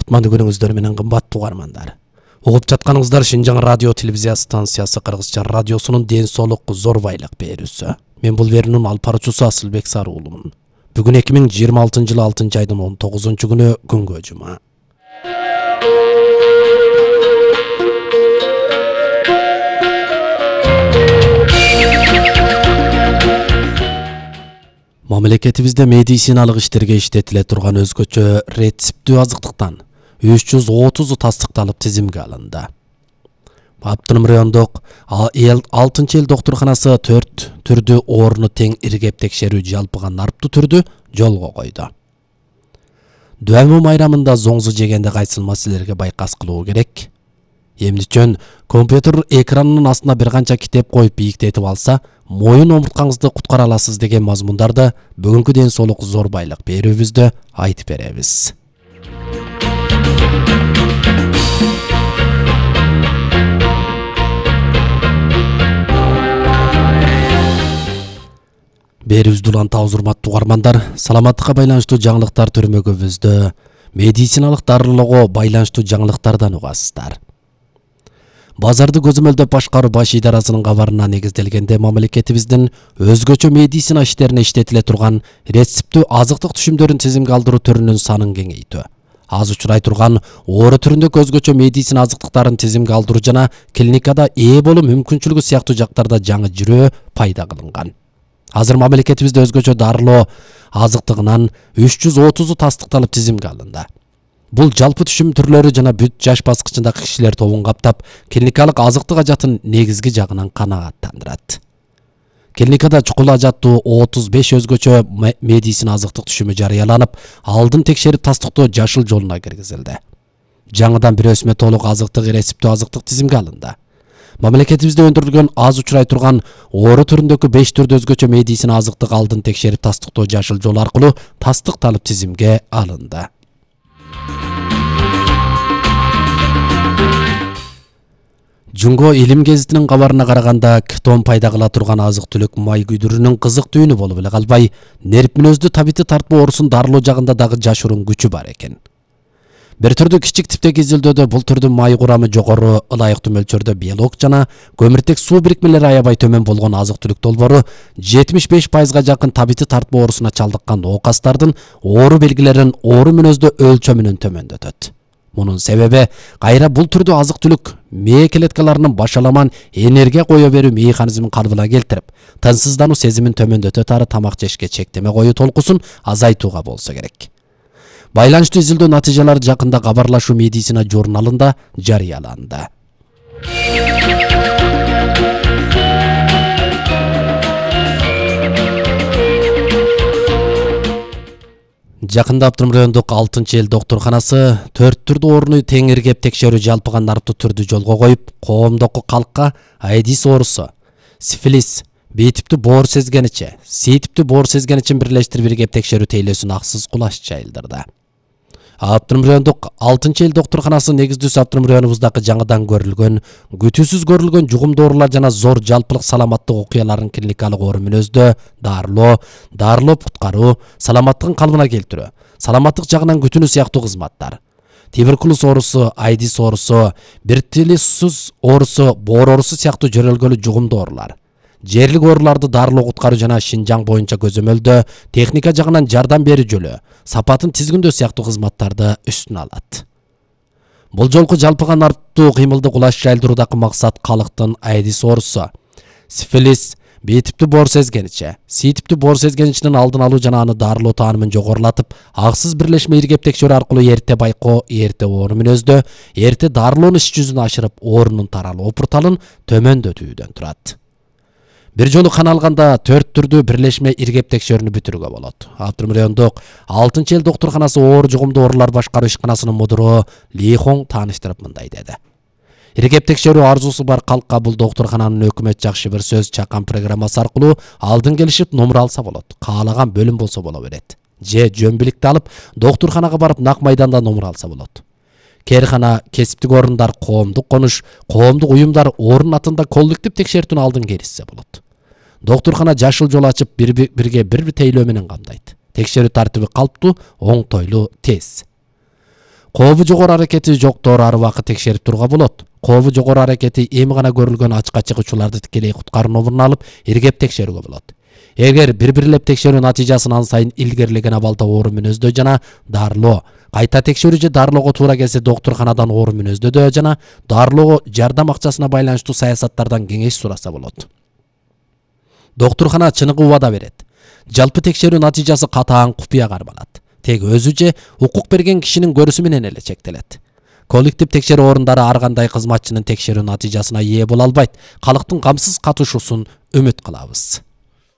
кутмандуу күнүңүздөр менен кымбаттуу угармандар. Угуп жатканыңыздар Шинжаң радио телевизия станциясы Кыргызча радиосунун ден соолук зор байлык берүүсү. Мен бул берүүнүн алып баруучусу Асылбек Сары уулумун. Бүгүн 2026-жылы 6-айдын 19-күнү күнгө жума. Мамлекетибизде медициналык иштерге иштетиле турган өзгөчө рецептүү азыктыктан 330 тастыкталып тизимге алынды. Аптырым райондук 6-эл доктурканасы 4 түрдүү ооруну тең иргеп текшерүү жалпыга нарптуу түрдү жолго койду. Дуамы майрамында зоңзу жегенде кайсыл маселелерге байкас кылуу керек? Эмничен компьютер экранынын астына бир канча китеп коюп бийиктетип алса, моюн омурткаңызды куткара аласыз деген мазмундарды бүгүнкү ден соолук зор байлык берүүбүздө айтып беребиз. Берүүбүздү улантабыз, урматтуу угармандар. Саламаттыкка байланыштуу жаңылыктар төрмөгүбүздө медициналык дарылоого байланыштуу жаңылыктардан угасыздар. Базарды көзөмөлдөп башкаруу баш идарасынын кабарына негизделгенде мамлекетибиздин өзгөчө медицина иштерине иштетиле турган рецептүү азыктык түшүмдөрүн тизимге алдыруу түрүнүн санын кеңейтүү, аз учурай турган оору түрүндөгү өзгөчө медицина азыктыктарын тизимге алдыруу жана клиникада ээ болуу мүмкүнчүлүгү сыяктуу жактарда жаңы жүрөө пайда кылынган. Азыр мамлекетибизде өзгөчө дарылоо азыктыгынан 330 тастыкталып тизимге алынды. Бул жалпы түшүм түрлөрү жана бүт жаш баскычындагы кишилер тобун каптап, клиникалык азыктык ажатын негизги жагынан канааттандырат. Клиникада чукул ажаттуу 35 өзгөчө медицина азыктык түшүмү жарыяланып, алдын текшерип тастыктоо жашыл жолуна киргизилди. Жаңыдан бир өсмө толук азыктык рецептүү азыктык тизимге алынды. Мамлекетибизде өндүрүлгөн аз учурай турган оору түрүндөгү 5 түрдүү өзгөчө медицина азыктык алдын текшерип тастыктоо жашыл жол аркылуу тастыкталып тизимге алынды. Жунго илим гезитинин кабарына караганда, кетон пайда кыла турган азык-түлүк май күйдүрүүнүн кызык түйүнү болуп эле калбай, нерв мүнөздүү табити тартпоо оорусун дарылоо жагында дагы жашыруун күчү бар экен. Бир түрдүү кичик типтеги изилдөөдө бул түрдүн май курамы жогору, ылайыктуу мөлчөрдө биолог жана көмүртек суу бирикмелери аябай төмөн болгон азык-түлүк долбоору 75% жакын табити тартпоо оорусуна чалдыккан оокастардын оору белгилерин оору мүнөздүү өлчөмүнөн төмөндөтөт. Мунун себеби кайра бул түрдүү азык-түлүк мээ клеткаларынын башаламан энергия кое берүү механизмин калыбына келтирип, тынчсыздануу сезимин төмөндөтөт ары тамак жешке чектеме коюу толкусун азайтууга болсо керек. Байланыштуу изилдөө натыйжалары жакында кабарлашуу медицина журналында жарыяланды. Жакында Аптырым райондук 6-эл доктурканасы 4 түрдүү ооруну тең иргеп текшерүү жалпыга нарптуу түрдү жолго коюп, коомдогу калкка AIDS оорусу, сифилис, B типтүү боор сезгеничи, C типтүү боор сезгеничин бирлештирип иргеп текшерүү тейлөөсүн аксыз кулаш жайылдырды. Аптырым райондук 6-эл доктурканасы негиздүүсү Аптырым районубуздагы жаңыдан көрүлгөн, күтүүсүз көрүлгөн жугумдуу оорулар жана зор жалпылык саламаттык окуяларын клиникалык оору мүнөздө дарылоо куткаруу, саламаттыгын калыбына келтирүү, саламаттык жагынан күтүүнү сыяктуу кызматтар, туберкулез оорусу, AIDS оорусу, бертилиоз оорусу, боор оорусу сыяктуу жөрөлгөлүү жугумдуу оорулар, жерлик ооруларды дарылоо куткаруу жана Шинжаң боюнча көзөмөлдөө техника жагынан жардам берүү жолу, сапатын тизгиндөө сыяктуу кызматтарды үстүнө алат. Бул жолку жалпыга нарптуу кыймылды кулаш жайылдыруудагы максат калктын AIDS оорусу, сифилис, B типтүү боор сезгеничи, C типтүү боор сезгеничинин алдын алуу жана аны дарылоо таанымын жогорулатып, аксыз бирлешме иргеп текшерүү аркылуу эрте байкоо, эрте оору мүнөздө, эрте дарылоону иш жүзүнө ашырып, оорунун таралуу порталын төмөндөтүүдөн турат. Бир жолу кан алганда 4 түрдүү бирлешме иргеп текшерүүнү бүтүрүүгө болот. Аптырым райондук 6-эл доктурканасы оору жугумдуу оорулар башкаруу ишканасынын мудуру Ли Хон тааныштырып мындай деди. Иргеп текшерүү арзусу бар калкка бул доктуркананын өкмөт жакшы бир сөз чакан программасы аркылуу алдын келишип номер алса болот. Каалаган бөлүм болсо боло берет. Же жөн биликти алып, доктурканага барып нак майданда номер алса болот. Керхана, кесиптик орундар, коомдук конуш, коомдук уюмдар орун атында коллектив текшертүүнү алдын келишсе болот. Доктуркана жашыл жол ачып бирге бир тейлөө менен камдайт. Текшерүү тартиби калптуу, оңтойлуу, тез. Кообу жогору аракети жоктор ар убакыт текшерип турууга болот. Кообу жогору аракети эми гана көрүлгөн ачыкка чыгуучуларды тикелей куткаруу номурун алып, иргеп текшерүүгө болот. Эгер бирлеп текшерүү натыйжасын ан сайын илгерилеген абалда оору мүнөздөө жана дарылоо, кайта текшерүү же дарылоого туура келсе доктурканадан оору мүнөздөдө жана дарылоого жардам акчасына байланыштуу саясаттардан кеңеш сураса болот. Доктуркана чыныгы убада берет. Жалпы текшерүү натыйжасы катаан купуя кармалат. Тек өзү же укук берген кишинин көрүүсү менен эле чектелет. Коллектив текшерүү орундары ар кандай кызматчынын текшерүү натыйжасына ээ боло албайт. Калктын камсыз катышуусун үмүт кылабыз.